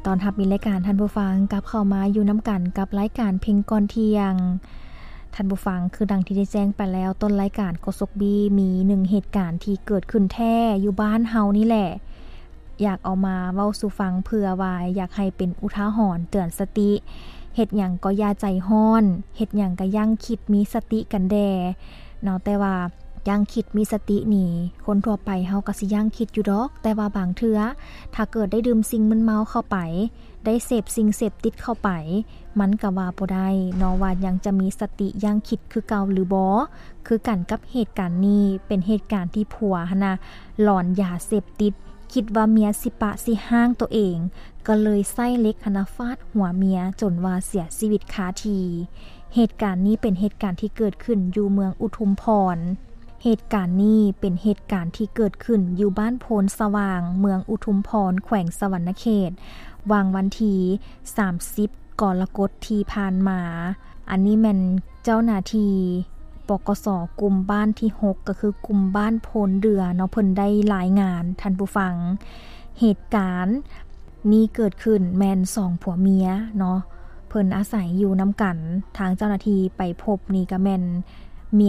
ຕ້ອນຮັບມີລາຍການ ທ່ານຜູ້ຟັງກັບເຂົ້າມາຢູ່ນຳກັນກັບລາຍການເພັງກ່ອນທ່ຽງ. ທ່ານຜູ້ຟັງ, ຄືດັ່ງທີ່ໄດ້ແຈ້ງໄປແລ້ວ ຕົ້ນລາຍການໂຄສົກບີ ມີໜຶ່ງເຫດການທີ່ເກີດຂຶ້ນແທ້ຢູ່ບ້ານເຮົານີ້ແຫຼະ ຢາກເອົາມາເວົ້າສູ່ຟັງ ເພື່ອວ່າຢາກໃຫ້ເປັນອຸທາຫອນເຕືອນສະຕິ. ເຮັດຫຍັງກໍຢ່າໃຈຮ້ອນ, ເຮັດຫຍັງກໍຢັ້ງຄິດມີສະຕິກັນແດ່ເນາະ. ແຕ່ວ່າຢັ້ງຄິດມີສະຕິນີ້ ຄົນທົ່ວໄປເຮົາກໍຊິຢັ້ງຄິດຢູ່ດອກ, ແຕ່ວ່າບາງເທື່ອ ຖ້າເກີດໄດ້ດື່ມສິ່ງມຶນເມົາເຂົ້າໄປ, ໄດ້ເສບສິ່ງເສບຕິດເຂົ້າໄປ, ມັນກໍວ່າບໍ່ໄດ້ເນາະ ວ່າຍັງຈະມີສະຕິຢັ້ງຄິດຄືເກົ່າຫຼືບໍ່. ຄືກັນກັບເຫດການນີ້ ເປັນເຫດການທີ່ຜົວຫັ້ນນະ ຫຼອນຢາເສບຕິດ, ຄິດວ່າເມຍຊິປະຊິຮ້າງໂຕເອງ, ກໍເລີຍໃຊ້ເຫຼັກຫັ້ນນະ ຟາດຫົວເມຍຈົນວ່າເສຍຊີວິດຄາທີ່. ເຫດການນີ້ເປັນເຫດການທີ່ເກີດຂຶ້ນຢູ່ເມືອງອຸທຸມພອນ. ເຫດການນີ້ເປັນເຫດການທີ່ເກີດຂຶ້ນຢູ່ບ້ານໂພນສະຫວ່າງ ເມືອງອຸທຸມພອນ ແຂວງສະຫວັນນະເຂດ ຫວ່າງວັນທີສາມສິບ ກໍລະກົດທີ່ຜ່ານມາ. ອັນນີ້ແມ່ນເຈົ້າໜ້າທີ່ ປກສ ກຸ່ມບ້ານທີຫົກ ກໍຄືກຸ່ມບ້ານໂພນເດືອເນາະ ເພິ່ນໄດ້ລາຍງານ ທ່ານຜູ້ຟັງ. ເຫດການນີ້ເກີດຂຶ້ນແມ່ນສອງຜົວເມຍເນາະ ເພິ່ນອາໄສຢູ່ນຳກັນ. ທາງເຈົ້າໜ້າທີ່ໄປພົບນີ້ກໍແມ່ນ